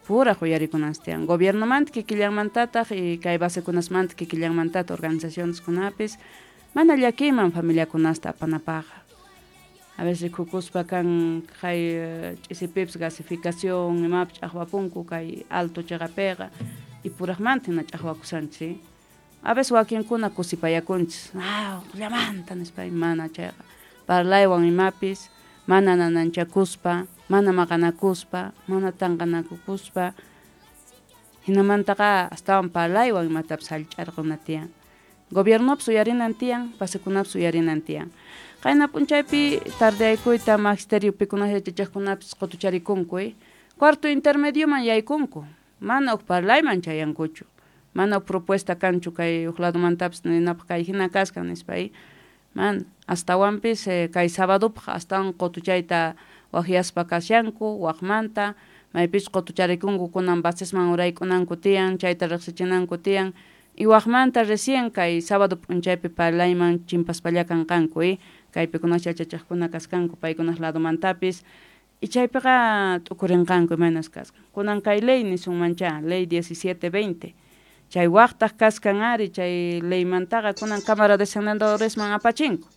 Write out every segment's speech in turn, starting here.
Puraq uyarikunanchis tiyan. Gobiernomanta kikillanmantataq y kay basekunasmanta kikillanmantataq organizacioneskunapis mana llakiyman familiakunasta apanapaqqa. A veces rikukuspa kan kay ch'isipipis gasificación imapis ch'aqwapunku kay alto chiqapiqa y puraqmanta hina ch'aqwakushanchis. A veces wakinkuna kusipayakunchis, ah, uqllamanta nispa, mana chayqa parlaywan imapis mana nananchakuspa, mana maqanakuspa, mana tanqanakukuspa, hinamantaqa astawan parlaywan imatapis hallch'arquna tiyan. Gobiernopis uyarinan tiyan, basekunapis uyarinan tiyan. Qayna p'unchaypi tardeaykuyta magisterio pikuna yachachiqkunapis qutucharikunku, cuarto intermedioman yaykunku, mana huk parlayman chayankuchu, mana huk propuesta kanchu kay huk ladomantapis ninapaq kay hina kaskan nispa, mana astawanpis kay sabadopaq astawan qutuchayta waqyaspa kashanku waqmanta maypichus qutucharikunku kunan basesman urayk'unanku tiyan chayta riqsichinanku tiyan y waqmanta recién kay sábado p'unchaypi parlayman chimpaspalla kanqanku, kaypikunash yachachiqkuna kaskanku paykunaq ladomantapis y chaypiqa t'ukurinqanku imaynas kaskan. Kunan kay ley nisunmancha, ley 1720 chay waqtaq kaskan ari chay leymantaqa kunan Cámara de Senadoresman apachinku.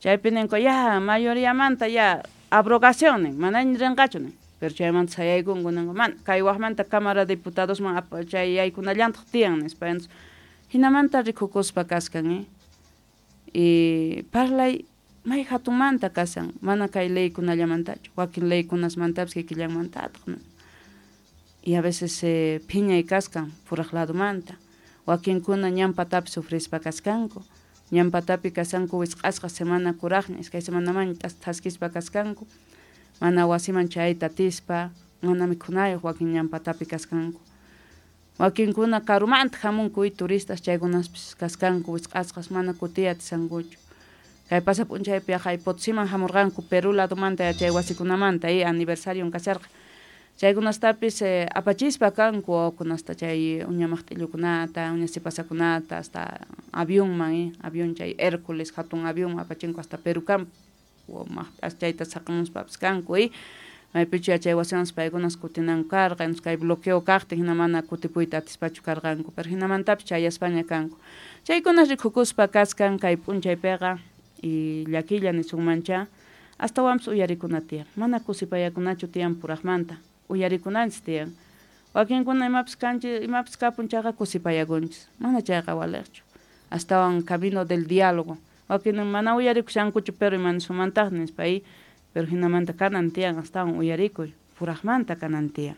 Chaypi ninku ya mayoriamanta ya abrogación nin, manaña rinqachu nin, pero chaymanta sayaykunku ninku mana kay waqmanta Cámara de Diputadosman chay yaykunallantaq tiyan nispa. Hinamanta rikukuspa kaskan, y parlay may hatunmanta kashan, mana kay leykunallamantachu, wakin leykunasmantapis kikillanmantataq. Y a veces phiñay kaskan puraq ladomanta, wakinkuna ñan patapi sufrispa kaskanku, ñan patapi kashanku wisq'asqa semana kuraqña, iskay semanamanña thaskispa kaskanku, mana wasiman chayayta atispa, mana mikhunayuq wakin ñan patapi kaskanku. Wakinkuna karumanta hamunku turistas chaykunaspis kaskanku wisq'asqas mana kutiy atishankuchu. Kay pasa p'unchaypi yaqay Potosiman hamurqanku Perú ladomanta yachay wasikunamanta aniversarion kasharqa. Chaykunastapis apachispa kanku wawakunasta chay uña maqt'illukunata, uña sipasakunata hasta avionman, avión chay Hércules hatun avión apachinku hasta Perú maqt'as chayta saqamuspapis kanku, maypichu yachay wasimanpas paykunas kutinanku karqa, kay bloqueo kaqtin hina mana kutipuyta atispachu karqanku, pero hinamantapis chayaspaña kanku. Chaykunas rikukuspa kaskan kay p'unchaypiqa y llakilla nisunmancha astawanpis uyarikuna tiyan, mana kusipayakunachu tiyan puraqmanta, uyarikunanchis tiyan. Wakinkuna imapis kanchis, imapis kapun chayqa kusipayakunchis, mana chayqa waliqchu. Astawan camino del diálogo. Wakin mana uyarikushankuchu pero ima nisumantaq nispa, pero hinamanta kanan tiyan astawan uyarikuy, puraqmanta kanan tiyan.